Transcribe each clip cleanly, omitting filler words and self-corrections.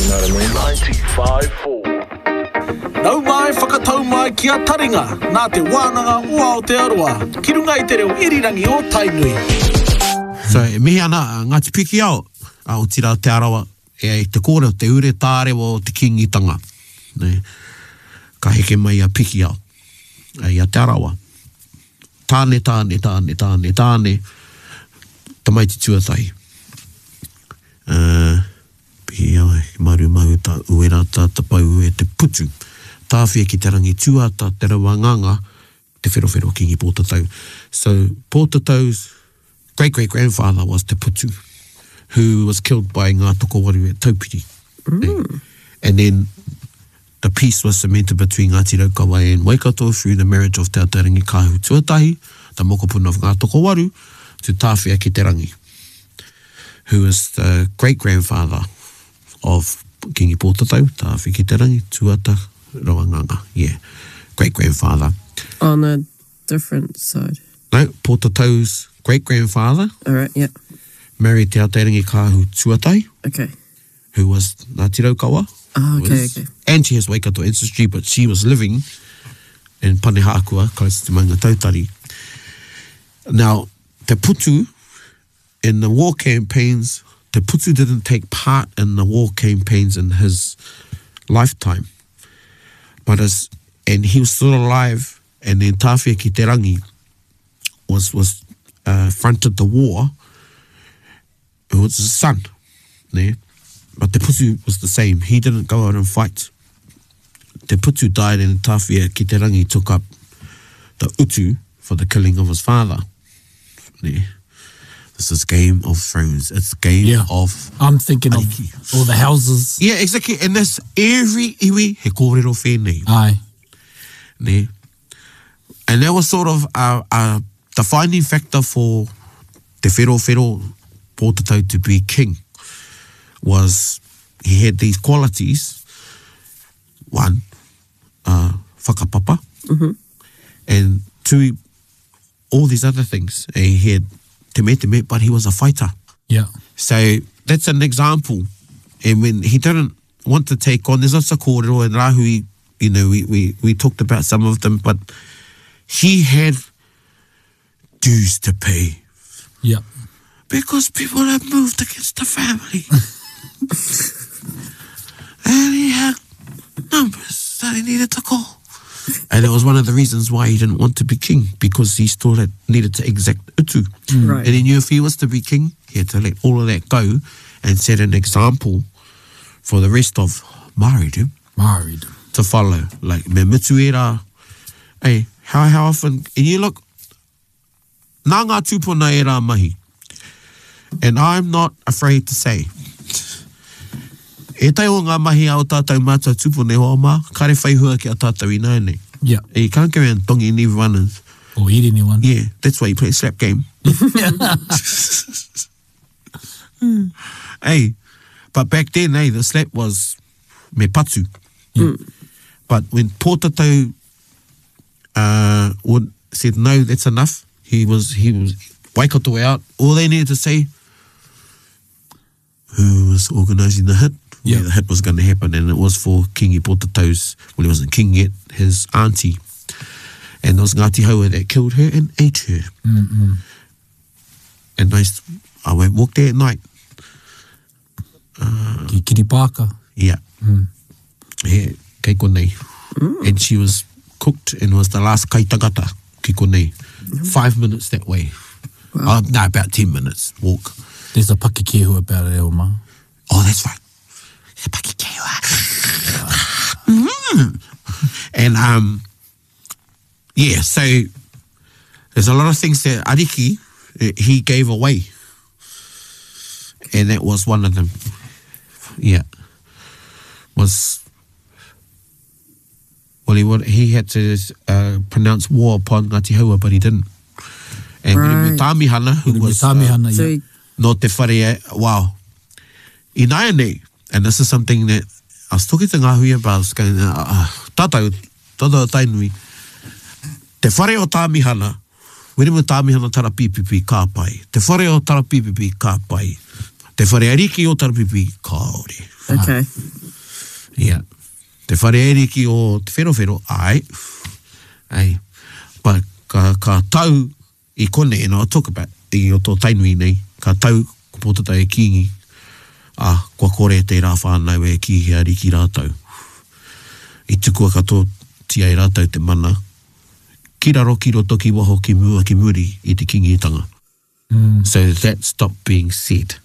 You know what I mean? 95.4. Nau mai whakatau mai ki a Taringa, nā Te Wānanga o Aotearoa, ki runga i te reo irirangi o Tainui. So, e mihi ana a Ngāti Pikiao, a otirā Te Arawa, e ai te kōrero, te ure tārewa o te Kīngitanga. Nē. Ka heke mai a Pikiao, i a Te Arawa. Tāne, tāne, tāne, tāne, tāne, tamaiti tuatahi. Uh, Pikiao, Maru Mahuta, Uerata, Tapaue, Te Putu, Tāwhia ki te rangi tuata, Te Rauanganga, Te Wherowhero Kingi Pōtatau. So, Pōtatau's great great grandfather was Te Putu, who was killed by Ngā Tokowaru at Taupiri. Mm. And then the peace was cemented between Ngāti Raukawa and Waikato through the marriage of Te Atarangi Kāhu Tuatahi, the mokopuna of Ngā Tokowaru, to Tāwhia ki te Rangi, who is the great-grandfather of Kingi Pōtatau, Tāwhia ki te Rangi, Tuata Rawanganga, yeah, great-grandfather. On a different side. No, Pōtatau's great-grandfather. All right, yeah. Married Te Atarangi Kāhu Tuatahi. Okay. Who was Ngāti Raukawa. Oh, okay, was, okay. And she has Waikato ancestry, but she was living in Panehākua, close to Maungatautari. Now, Te Putu, in the war campaigns, Te Putu didn't take part in the war campaigns in his lifetime. But as, and he was still alive, and then Tāwhia ki te rangi was, was uh, fronted the war, who was his son. Ne? But Te Putu was the same. He didn't go out and fight. Te Putu died and Tāwhia ki te rangi took up the utu for the killing of his father. Ne? This is Game of Thrones. It's Game yeah. of I'm thinking Ariki. of all the houses. Yeah, exactly. And that's every iwi he kōrero whēnei. Aye. Ne? And that was sort of a, a defining factor for Te Wherowhero Pōtatau to be king was he had these qualities. One, uh, whakapapa. Mm -hmm. And two, all these other things. And he had te me te me, but he was a fighter. Yeah. So that's an example. And when he didn't want to take on, there's lots of kōrero and rahui, you know, we, we, we talked about some of them, but he had dues to pay. Yeah. Because people had moved against the family. and he had numbers that he needed to call. And it was one of the reasons why he didn't want to be king, because he still had needed to exact utu. Mm. Right. And he knew if he was to be king, he had to let all of that go and set an example for the rest of Māoridom. Māoridom. To follow. Like, me mutu e rā. Hey, how, how often, and you look, nā ngā tūpuna e rā mahi. And I'm not afraid to say, ētahi o ngā mahi a o tātou mātua tūpuna e hoa mā, kare whai hua ki a tātou ināianei. Yeah. You can't go around donging everyone and... Or eat anyone. Yeah, that's why you play slap game. Hey, but back then, hey, the slap was me patu. Yeah. But when Pōtatau uh, would, said, no, that's enough, he was, he was Waikato out. All they needed to say, who was organising the hit, yeah. where the hit was going to happen, and it was for Kingi Pōtatau's, well, he wasn't king yet, his auntie. And it was Ngāti Haua that killed her and ate her. Mm-mm. And I, I went walk there at night. Uh, Ki Kiripāka. Yeah. Mm. Yeah, kei konei. Mm. And she was cooked and was the last kaitangata ki konei. Mm. Five minutes that way. Wow. Uh, no, about 10 minutes walk. There's a pakikehu about it, Elma. Oh, that's right. The pakikehua. mm. And, um, yeah, so there's a lot of things that Ariki, eh, he gave away. And that was one of them. Yeah. Was, well, he, would, he had to uh, pronounce war upon Ngāti Haua, but he didn't. And right. Wiremu Tāmihana, who was... Tāmihana, uh, yeah. Nō te whare, wow. Ināianei, and this is something that I was talking to Ngāhui about, I was going, uh, uh, tātou, tātou Tainui, te whare o Tāmihana, Wiremu Tāmihana Tarapīpipi, ka pai. Te whare o Tarapīpipi, ka pai. Te whare ariki o Tarapīpipi, kāore. Okay. Yeah. Te whare ariki o Te Wherowhero, ai. Ai. But ka, ka tau i konei, and I'll talk about i roto o Tainui nei, ka tau ko Pōtatau e Kīngi, ā, kua kore tērā whānau e kī he ariki rātou. I tukua katoatia e rātou te mana, ki raro, ki roto, ki waho, ki mua, ki muri i te Kīngitanga. So that stopped being said.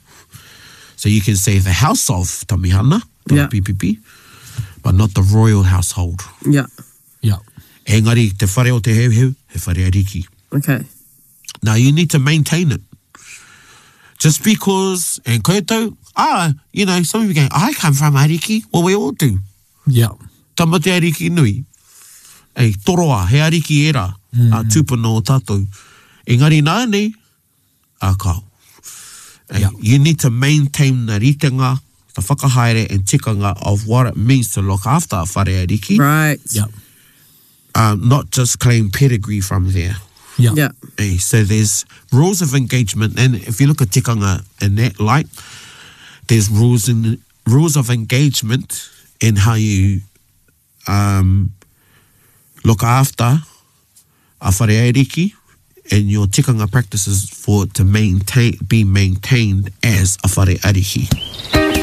So you can say the house of Tamihana, yeah. PPP, but not the royal household. Yeah. Yeah. Engari, te whare o te Heuheu, he whare ariki. Okay. Now you need to maintain it. Just because, and koutou, ah, you know, some of you go, I come from Ariki. Well, we all do. Yeah. Tama te ariki nui. Ei, toroa, he ariki era, mm. a tūpuna o tātou. Engari nānei, a kao. Ei, yeah. You need to maintain the ritenga, the whakahaere and tikanga of what it means to look after a whare ariki. Right. Yeah. Um, not just claim pedigree from there. Yeah. Yeah. Hey, so there's rules of engagement, and if you look at tikanga in that light, there's rules in rules of engagement in how you um, look after a whare ariki and your tikanga practices for it to maintain, be maintained as a whare ariki.